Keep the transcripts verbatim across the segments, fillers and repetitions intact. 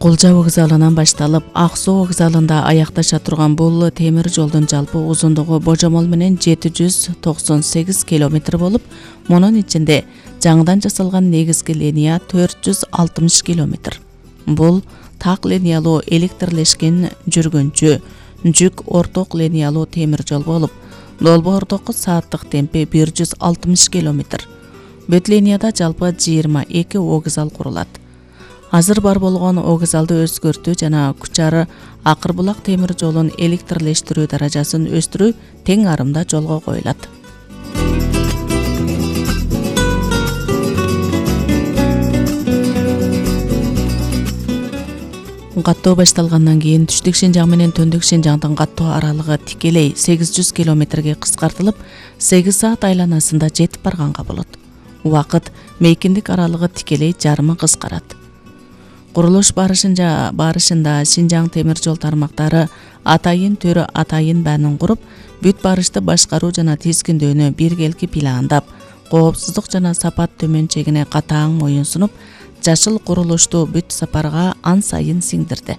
Кулжа вокзалынан башталып, Ак Суу вокзалында аякташа турган бул темир жолдун жалпы узундугу божомол менен жети жүз токсон сегиз километр болуп, мунун ичинде жаңыдан жасалган негизги линия төрт жүз алтымыш километр. Бул так линиялуу электрлешкен жүргүнчү жүк орток линиялуу темир жол болуп, долбоордогу сааттык темпи бир жүз алтымыш километр. Бүт линияда жалпы жыйырма эки вокзал курулат. Азыр бар болгон вокзалды өзгөртүү жана Кучар Акыр булак темир жолун электрлештирүү даражасын өстүрүү тең арымда жолго коюлат. Каттоо башталгандан кийин түштүк Шинжаң менен төндүк Шинжаңдын каттоо аралыгы тикелей сегиз жүз километрге кыскартылып, сегиз саат айланасында жетип барганга болот. Убакыт мейкиндик аралыгы тикелей жарымы кыскарат. Курулуш барышында барышында Шинжаң темир жол тармактары атайын төрө атайын баанын куруп, бүт барышты башкаруу жана тизгиндөөнү биргелки пландап, коопсуздук жана сапат төмөнчегине катаң моюн сунуп, жашыл курулушту бүт сапарга ан сайын сиңдирди.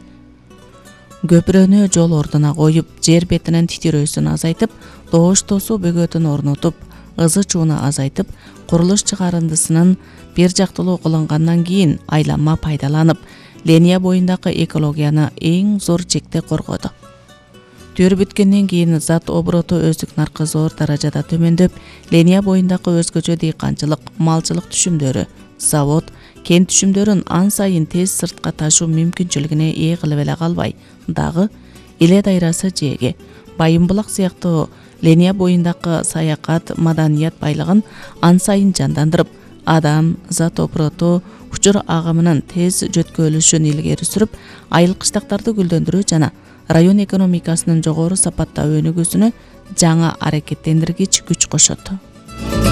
Көпүрөнү жол ордуна коюп, жер бетинин титирөөсүн азайтып, доош тосуу бөгөтүн орнотуп, ызы чууну азайтып, курулуш чыгарындысынын бир жактылуу кылынгандан кийин айланма пайдаланып, линия боюндагы экологияны эң зор чекте коргоду. Төр бүткөндөн кийин зат обороту өздүк наркы зор даражада төмөндөп, линия боюндагы өзгөчө дыйканчылык, малчылык түшүмдөрү, завод, кен түшүмдөрүн ан сайын тез сыртка ташуу мүмкүнчүлүгүнө ээ кылып эле калбай, дагы Иле дайрасы жээги, Байым булак сыяктуу линия боюндагы саякат, маданият байлыгын ан сайын жандандырып, адам, зат обороту, учур агымынын тез жөткөлүшүн илгери сүрүп, айыл кыштактарды гүлдөндүрүү жана район экономикасынын жогору сапатта өнүгүүсүнө жаңы аракеттендиргич күч кошот.